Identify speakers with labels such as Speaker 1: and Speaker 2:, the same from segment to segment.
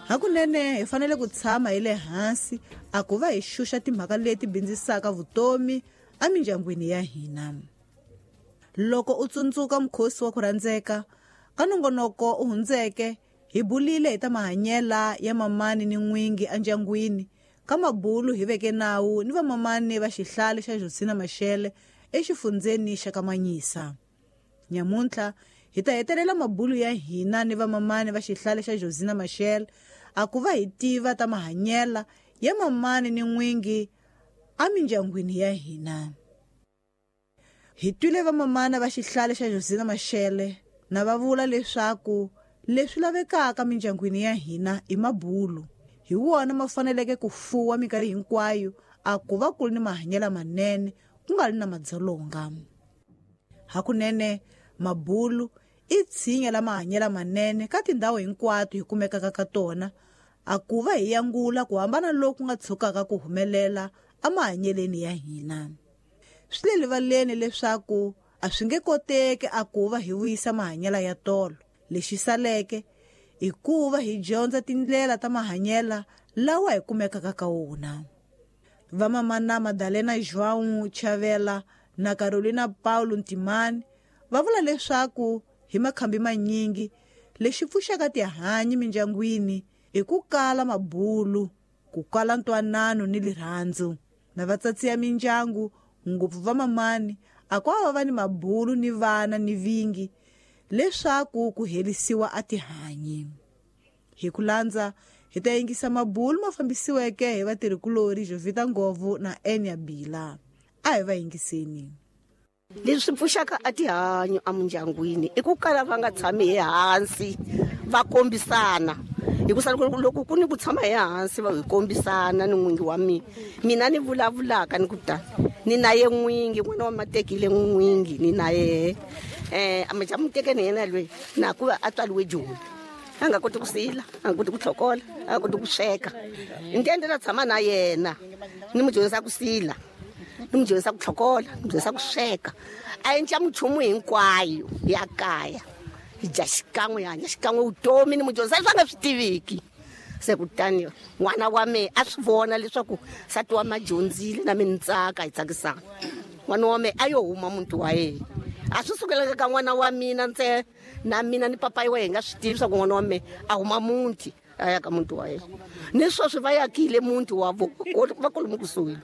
Speaker 1: Hakunene hi fanele ku tshama hi le hansi a ku va hi xuxa timhaka leti bindzisaka vutomi emindyangwini ya hina. Loko u tsundzuka mukhosi wa ku rhandzeka ka nongonoko u hundzeke, hi bulile hi ta mahanyela ya mamani ni n'wingi endyangwini. Ka mabulu hi veke nawu ni vamamani va xihlale xa Josina Machel exifundzeni xa Kamanyisa. Nyamuntlha hi ta hetelela mabulu ya hina ni vamamani va xihlale xa Josina Machel a ku va hi tiva ta mahanyela ya mamani ni n'wingi emindyangwini ya hina. Hi twile vamamana va xihlale xa Josina Machel na va vula leswaku leswi lavekaka mindyangwini ya hina i mabulu. Hi wona ma faneleke ku fuwa minkarhi hinkwayo a ku va ku ri ni mahanyelo manene ku nga ri na madzolonga. Hakunene mabulu i tshinya la mahanyelo manene ka tindhawu hinkwato hi kumekaka ka tona a ku va hi yangula ku hambana loku nga tshukaka ku humelela emahanyeleni ya hina. Swi le rivaleni leswaku a swi nge koteki a ku va hi vuyisa mahanyelo ya tolo. Lexi saleke i ku va hi dyondza tindlela ta mahanyelo lawa hi kumekaka ka wona. Vamamana Madalena João Chavela na Carolina Paulo Ntimani va vula leswaku hi makhambi manyingi lexi pfuxaka tihanyi mindyangwini i ku kala mabulu, ku kala ntwanano ni lirhandzu. Na vatsatsi ya mindyangu ngopfu vamamani a ku va ni mabulu ni vana ni vingi leswaku ku herisiwa a tihanyi. Hi ku landza hi ta yingisa mabulu ma fambisiweke hi vatirhikulori Jovita Ngovu na Enya Bila. A hi va yingiseni.
Speaker 2: Leswi pfuxaka a tihanyi emindyangwini i ku kala va nga tshami hi hansi va kombisana. Hikusa loko ku ni ku tshama hi hansi va hi kombisana ni n'wingi wa mina, mina ni vulavulaka ni ku ta ni na ye n'wingi, n'wana wa matekile n'wingi ni na yehe. A mu teke ni yena loyi na ku va a tswariwe Joni, a nga koti ku sila, a nga koti ku tlhokola, a nga koti ku sweka. Ni ta endlela tshama na yena ni mu dyondzisa ku sila, ni mu dyondzisa ku tlhokola, ni mu dyondzisa ku sweka, a endla minchumu hinkwayo ya kaya. Hi dya xikan'we, hi hanya xikan'we vutomi, ni mu dyondzisa leswi a nga swi tiviki. Se kutani n'wana wa mehe a swi vona leswaku nsati wa ma dyondzile na mina ni tsaka, hi tsakisana. N'wana wa mehe a yo huma muti wa yena, a swi sukelanga ka n'wana wa mina ntsena, na mina ni papayi wa yena hi nga swi tivi leswaku n'wana wa mehe a huma muti a ya ka muti wa yena. Ni sweswi va yakile muti wa vo, va kolomu kusuhi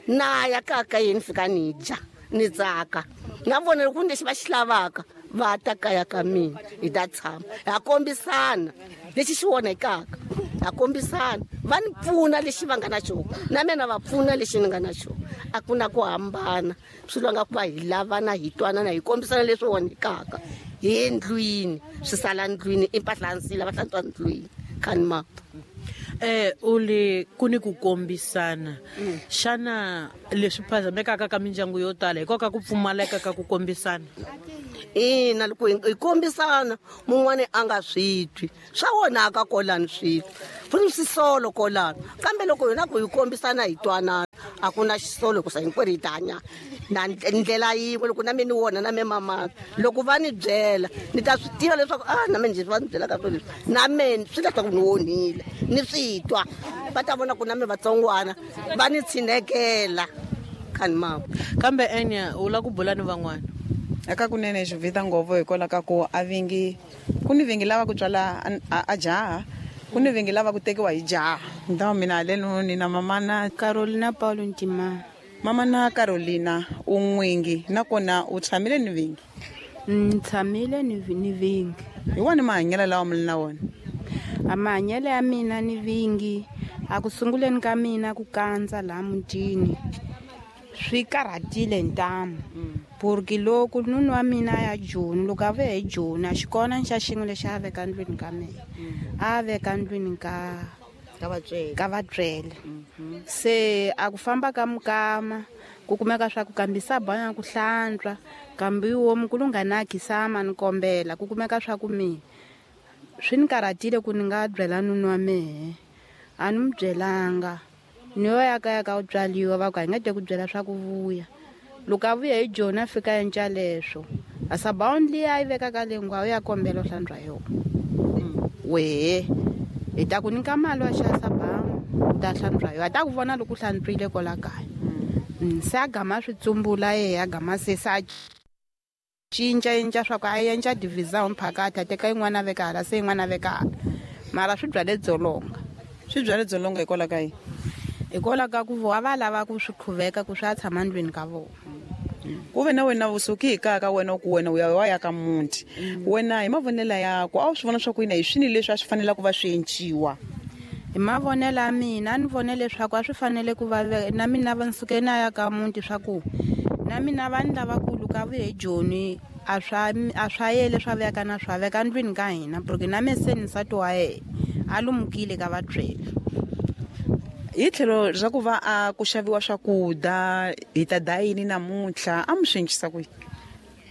Speaker 2: na ya kaya ka yena, ni fika ni dya ni tsaka. Na vona loko lexi va xi lavaka va ta kaya ka mina, hi ta tshama ha kombisana lexi xi onhekaka, ha kombisana, va ni pfuna lexi va nga na xona, na mina va pfuna lexi ni nga na xona. A ku na ku hambana, swi lwanga ku va hi lavana, hi twanana, hi kombisana leswi onhekaka hi ndlwini, swi sala ndlwini, i mpahla ya nsila va hlantswa ndlwini khani mapa.
Speaker 3: U le ku ni ku kombisana. Xana leswi phazamekaka ka mindyangu yo tala hikwalaho ka ku pfumaleka ka ku kombisana?
Speaker 2: Ina, loko hi kombisana mun'wani a nga swi twi, swa onhaka kolani swilo, ku ni swisolo kolani. Kambe loko hina ku hi kombisana hi twanana, a ku na xisolo hikusa hinkwerhu hi ta hanya na ndlela yin'we. Loko na mina ni wona na me mamana, loko va ni byela ni ta swi tiva leswaku na mina leswi va ni byelaka swona leswi, na mina swi leswaku ni onhile, ni swi twa. Va ta vona ku na mina vatsongwana va ni tshinekela khani mama.
Speaker 3: Kambe Enya, u lava ku bula ni van'wana?
Speaker 4: Eka kunene Jovita Ngovu hikwalaho ka ku a vingi ku ni vingi lava ku tswala a jaha, ku ni vingi lava ku tekiwa hi jaha. Ndhawu mina haleno ni na mamana
Speaker 5: Carolina Paulo Ntimani.
Speaker 4: Mamana Carolina u n'wingi nakona u tshamile ni vingi?
Speaker 5: Ni tshamile ni vingi.
Speaker 4: Hi wona mahanyelo lawa mi na wona?
Speaker 5: A mahanyelo ya mina ni vingi a ku sunguleni ka mina ku kandza laha mutini swi karhatile ntamu. Porque loko nuna wa mina a ya Joni, loko a vuya hi Joni a xi kona xa xin'we lexi a veka ndlwini ka mina, a veka ndlwini
Speaker 2: Ka vatswele.
Speaker 5: ka vatswele. Se a ku famba ka mukama ku kumeka swa ku kambisa banya ku hlantswa, kambe wo mukulu nga na khisama ni kombela ku kumeka swa ku mina swi ni karhatile ku ni nga byela nuna wa mehe, a ni n'wi byelanga. Ni yo ya kaya ka u tswaliwa va ku a hi nga te ku byela swa ku vuya. Loko a vuya hi Joni a fika enca leswo, a sabawuni liya a yi vekaka le ngwa u ya kombela u hlantswa yona. Wehe. Hi ta ku nyika mali wa xava sabamu u ta hlantswa yo a ta ku vona loko u hlantswile kwala kaya. Se a gama swi tsumbula yehe a gama se se a cinca cinca swa ku a endla division phakathi a teka yin'wana a veka hala se yin'wana a veka hala mara swi byale dzolonga.
Speaker 4: Swi byale dzolonga hikwalaho ka yini?
Speaker 5: Hikwalaho ka ku vo a va lava ku swi qhuveka ku swi ya tshama ndlwini ka vona.
Speaker 4: Ku ve na wena u suki hi kaya ka wena u ku wena u ya wa ya ka muti. Wena hi mavonelo yaku a wu swi vona swa ku yini hi swini leswi a swi fanele ku va swi enciwa?
Speaker 5: Hi mavonelo ya mina a ni vone leswaku a swi fanele ku va na mina va ni suke na ya ka muti swa ku na mina vanhu lavakulu ka vuye Joni a swa a swa yele swa veka na swa veka ndlwini ka hina porque na me se ni nsati wa yena a lumukile ka vatswele.
Speaker 4: Hi tlhelo ra ku va a ku xaviwa swakudya hi ta dya yini namuntlha a mi swi encisa ku yini?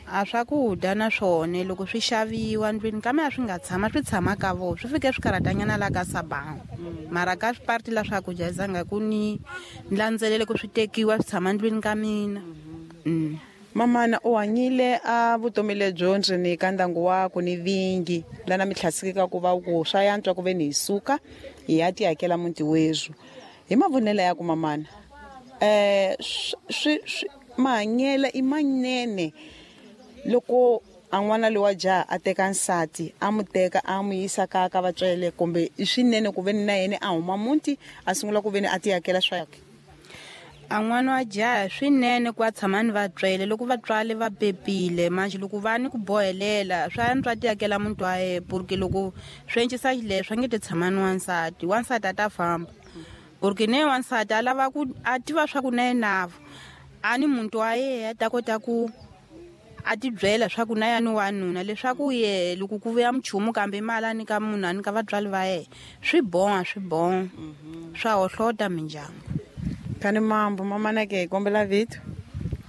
Speaker 5: A swakudya na swona loko swi xaviwa ndlwini ka mina swi nga tshama swi tshama ka vona swi fike swi karhatanyana la ka sabamu mara ka parti la swakudya zanga ku ni landzelele ku swi tekiwa swi tshama ndlwini ka mina.
Speaker 4: Mamana u hanyile a vutomi lebyo ndzeni ka ndyangu waku ni vingi lana mi tlhasikeka ku va ku swa yantswa ku ve ni hi suka hi ya tiyakela muti wezwu. Hi mavonelo ya ku mamana swi swi mahanyelo i manene loko a n'wana lowa jaha a teka nsati a mu teka a mu yisa kaya ka vatswele kumbe i swinene ku veni na yena a huma muti a sungula ku veni a tiyakela swakwe?
Speaker 5: A n'wana wa jaha swinene ku a tshama ni vatswele loko vatswari va pepile manje loko va ni ku bohelela swa antswa tiyakela muti wa yena porque loko swi encisa xileswo a nge te tshama ni wansati wansati a ta famba porque ne wansati a lava ku a tiva swa ku na yena a ni muntu wa yena a ta kota ku a ti byela swa ku na ya ni wanuna leswaku ye loko ku vuya minchumu kambe mali a nyika munhu a nyika vatswari va yena swi boha swi boha swa hohlota mindyangu.
Speaker 4: Kani mambo mamana ke kombela vito.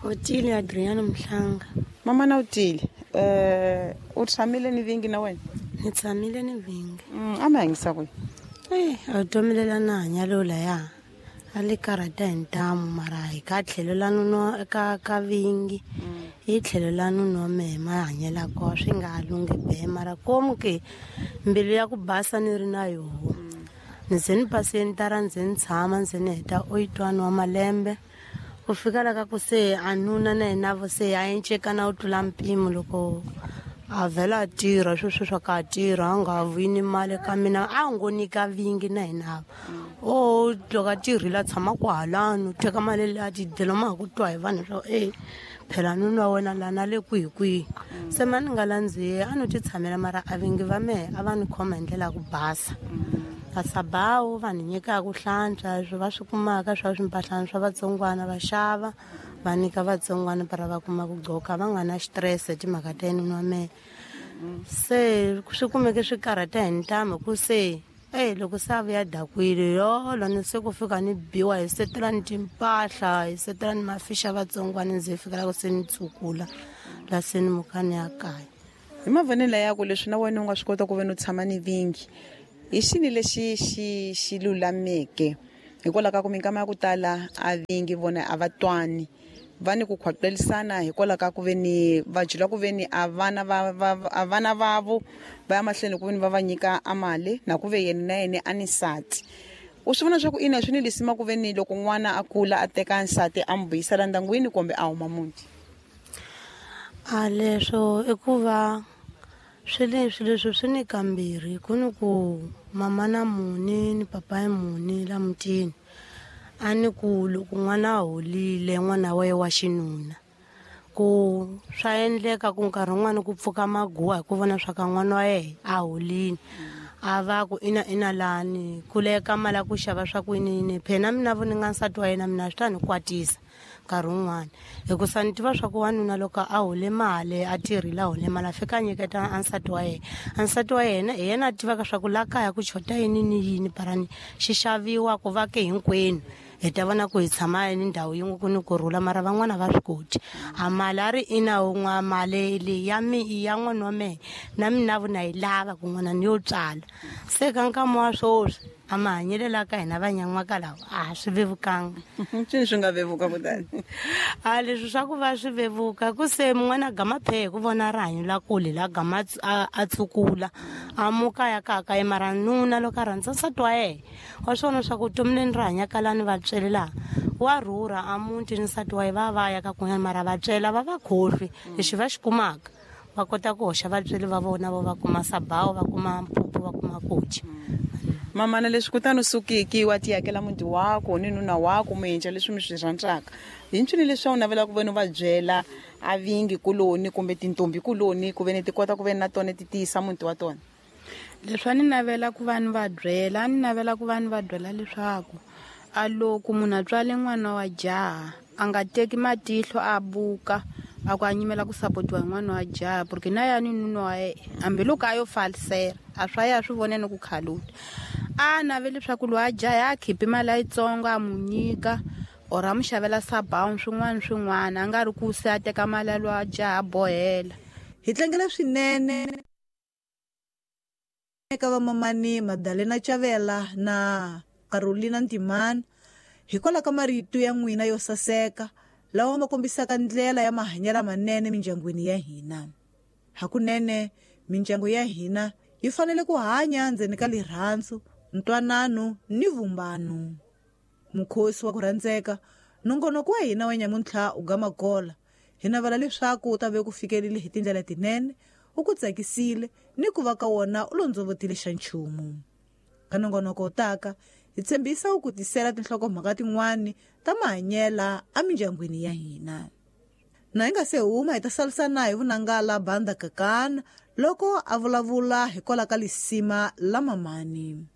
Speaker 6: Otile Adriana Mhlanga.
Speaker 4: Mamana Otile, u tshamile ni vingi na wena?
Speaker 6: Ni tshamile ni vingi.
Speaker 4: A mi hanyisa ku
Speaker 6: yini? A vutomi lela na hanya lo laya a li karhata hi ntamu mara hi ka tlhelo la nuna ka ka vingi hi tlhelo la nuna wa mehe mahanyelo kona swi nga lunghi be mara komu ke mbilu ya ku basa ni ri na yoho. Ni ze ni paseni tara ndze ni tshama ndze ni heta 81 wa malembe ku fika la ka ku se a nuna na yena vo se a encekana u tlula mpimo loko a vhela a tirha sweswo swa ka a tirha a nga vuyi ni mali ka mina a ngo nyika vingi na hina o loko a tirhile a tshama kwahalano teka mali leyi a ti dyela ma ha ku twa hi vanhu swa e phela nuna wa wena lana le kwihi kwihi se ma ni nga landzihi a no ti tshamela mara a vingi va mehe a va ni khoma hi ndlela ya ku basa. Vasabawu va ni nyikaka ku hlantswa leswi va swi kumaka swa swimpahlana swa vatsongwana va xava va nyika vatsongwana para va kuma ku gqoka va nga na xitirese timhaka ta yena wa mehe se swi kumeke swi karhata hi ntamu ku se loko se a vuya dakwile yolo ni se ku fika ni biwa hi setela ni timpahla hi setela ni mafixa vatsongwana ndzi fikela ku se ni tsukula la se ni muka ni ya kaya.
Speaker 4: Hi mavonelo ya ku leswi na wena u nga swi kota ku ve ni u tshama ni vingi hi xini lexi xi xi lulameke hikwalaho ka ku minkama ya ku tala a vingi vona a va twani va ni ku khwaqelisana hikwalaho ka ku ve ni va jula ku ve ni a vana va a vana vavo va ya mahlweni ku ve ni va va nyika a mali na ku ve yena na yena a ni nsati. U swi vona swa ku ina swi ni lisima ku ve ni loko n'wana a kula a teka nsati a n'wi vuyisela ndyangwini kumbe a huma muti?
Speaker 6: A leswo i ku va swi leswi leswi swi ni kambirhi ku ni ku mama na muni ni papa ya muni la mutini a ni ku loko n'wana a holile n'wana wa yena wa xinuna ku swa endleka ku nkarhi wun'wani ku pfuka maguwa hi ku vona swa ka n'wana wa yena a holile a va ku ina ina lani ku leka mali ya ku xava swa ku yini yini phela mina vo ni nga nsati wa yena mina swi ta ni kwatisa nkarhi wun'wani hikusa ni tiva swa ku wanuna loko a hole mali a tirhile a hole mali a fika a nyiketa a nsati wa yena a nsati wa yena hi yena a tivaka swa ku la kaya ku chota yini ni yini barani xi xaviwa ku va ke hinkwenu hi ta vona ku hi tshama ni ndhawu yin'we ku ni kurhula mara van'wana va swi koti a mali a ri ina wun'wa mali leyi ya mi ya n'wana wa mehe na mina vo na yi lava ku n'wana ni yo tswala se ka nkama wa swoswi. A mahanyelo la ka hina vanyan'waka lawa a swi vevukanga.
Speaker 4: Ncini swi nga vevuka kutani?
Speaker 6: A leswi swa ku va swi vevuka ku se mun'wana a gama phehe ku vona rihanyo la kule la gama a tsukula a muka ya ka ka mara nuna loko a rhandza nsati wa yena wa swona swa ku vutomi leni ri hanyaka lani va tswele laha wa rhurha a muti ni nsati wa yena va va ya ka kun'wana mara va tswela va va khohlwi lexi va xi kumaka va kota ku hoxa vatsweri va vona vo va kuma sabawu va kuma mphuphu va kuma koci.
Speaker 4: Mamana leswi kutani u sukiki wa ti yakela muti wako ni nuna wako mu endla leswi mi swi rhandzaka hi ncini leswi a wu navelaka ku veni u va byela a vingi kuloni kumbe tintombi kuloni ku veni ti kota ku veni na tona ti tiyisa muti wa tona?
Speaker 5: Leswi a ni navela ku va ni va byela, a ni navela ku va ni va byela leswaku a loko munhu a tswale n'wana wa jaha a nga teki matihlo a buka a ku a nyimela ku sapotiwa hi n'wana wa jaha porque na yani nuna wa yena hambiloko a yo falisela a swa ya swi vone ni ku khaluta a naveli leswaku loyi a jaha a khipi mali yitsongo a mu nyika or a mu xavela sabawu swin'wana swin'wana a nga ri ku se a teka mali ya loyi a jaha a bohela.
Speaker 1: Hi tlangela swinene eka vamamani Madalena Chavela na Carolina Ntimana hikwalaho ka marito ya n'wina yo saseka lawa ma kombisaka ndlela ya mahanyelo manene mindyangwini ya hina. Hakunene mindyangu ya hina yi fanele ku hanya ndzeni ka lirhandzu, ntwanano ni vumbano. Mukhosi wa ku rhandzeka, nongonoko wa hina wa nyamuntlha u gama gola. Hi navela leswaku u ta ve ku fikerile hi tindlela tinene, u ku tsakisile ni ku va ka wona u londzovotile xa nchumu. Ka nongonoko wu taka hi tshembisa ku tisela tinhlokomhaka tin'wani ta mahanyela emindyangwini ya hina. Na hi nga se huma hi ta salisana hi vunangala Banda Kakana loko a vulavula hikwalaho ka lisima la mamani.